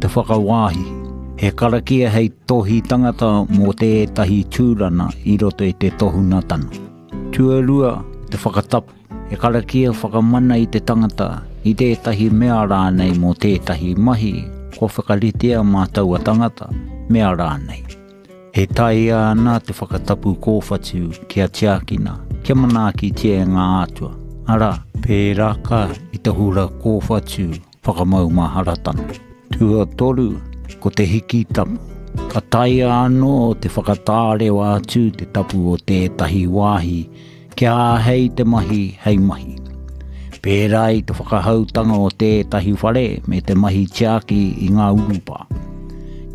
te whakawāhi. He karakia hei tohi tangata mō tētahi tūrana i roto i te tohunatana. Tuarua, te whakatapu. He karakia whakamana i te tangata, i tētahi mea rānei mō tētahi mahi kua whakaritea mā taua tangata, mea rānei. E taea ana te whakatapu kōwhatu kia tiakina, kia manaakitia e ngā atua, arā, pērāka i te hura kōwhatu whakamaumaharatanga. Tuatoru, ko te hiki tapu. Ka taea anō te whakatārewa atu te tapu o tētahi wāhi Kia āhei te mahi hei mahi. Pērā i te whakahoutanga o tētahi whare me te mahi tiaki i ngā urupā.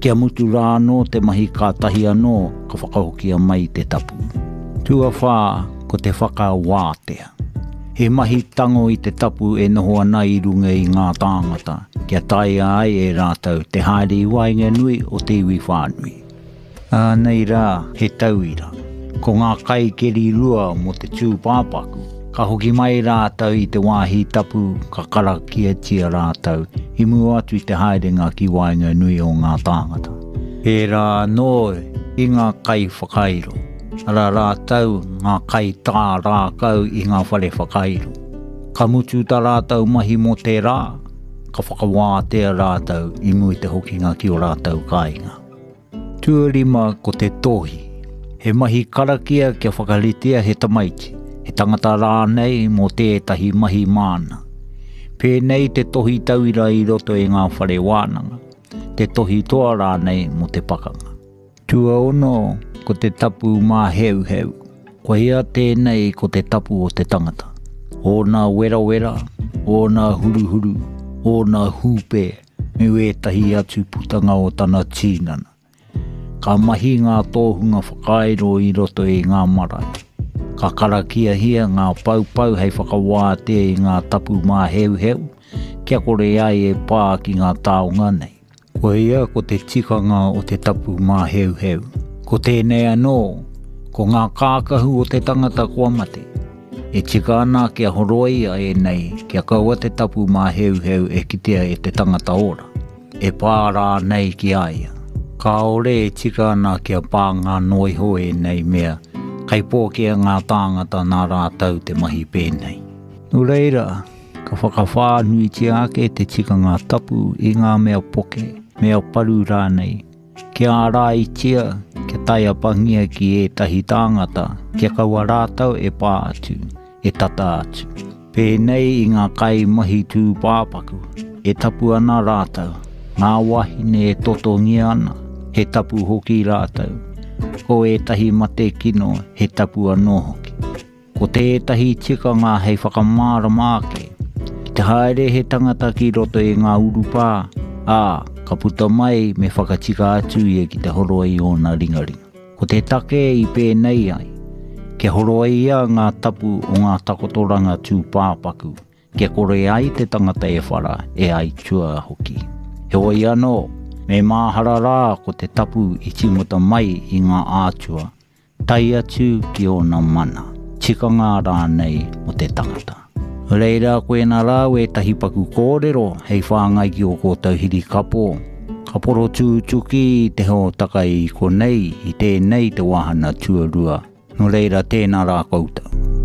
Kia mutu rā anō te mahi kātahi anō ka whakahokia mai te tapu. Tuawhā, ko te whakawātea. He mahi tango i te tapu e noho ana i runga i ngā tāngata kia taea ai e rātou te haere i waenganui o te iwi whānui. Ānei rā he tauira. Ko ngā kaikeri rua mō te tūpāpaku. Ka hoki mai rātou i te wāhi tapu ka karakiatia rātou i mua atu i te haerenga ki waenganui o ngā tāngata. Pērā anō i ngā kaiwhakairo, arā rātou ngā kaitā rākau i ngā whare whakairo. Ka mutu tā rātou mahi mō te rā, ka whakawātea rātou i mua i te hokinga ki ō rātou kāinga. Tuarima ko te tohi. He mahi karakia kia whakaritea he tamaiti, he tangata rānei mō tētahi mahi māna. Pēnei te tohi tauira i roto i ngā whare wānanga, te tohi toa rānei mō te pakanga. Tuaono ko te tapu māheuheu. Koia tēnei ko te tapu o te tangata. Ōna werawera, ōna huruhuru, ōna hūpē, me wētahi atu putanga o tana tīnana. Ka mahi ngā tōhunga whakairo i roto i ngā marae. Ka karakiahia ngā paupau hei whakawātea i ngā tapu māheuheu, kia kore ai e pā ki ngā taonga nei. Koia ko te tikanga o te tapu māheuheu. Ko tēnei anō, ko ngā kākahu o te tangata kua mate. E tika ana kia horoia ēnei kia kaua te tapu māheuheu e kitea e te tangata ora, e pā rānei ki a ia. Kāore e tika ana kia pānga noa iho ēnei mea, kei pōkea ngā tāngata nā rātou te mahi pēnei. Nō reira, ka whakawhānuitia ake te tikanga tapu i ngā mea poke, mea paru rānei, Kia āraitia, kia taiapangia ki ētahi tāngata, kia kaua rātou e pā atu, e tata atu. Pēnei i ngā kaimahi tūpāpaku, e tapu ana rātou, ngā wāhine e totongia ana, he tapu hoki rātou. Ko ētahi mate kino, he tapu anō hoki. Ko tētahi tikanga hei whakamārama ake, ki te haere he tangata ki roto i ngā urupā, ā, ka puta mai me whakatika atu ia ki te horoi i ōna ringaringa. Ko te take i pēnei ai, kia horoia ngā tapu o ngā takotoranga tūpāpaku, kia kore ai te tangata e whara, e aitua hoki. Heoi anō, me māhara rā ko te tapu i tīmata mai i ngā ātua, tae atu ki ōna mana, tikanga rānei o te tangata. Reira koena rā wētahi paku kōrero hei whāngai ki ō kōtou hirikapo, ka porotūtuki i te hōtaka i konei i tēnei te wāhana tuarua, nō reira tēnā rā koutou.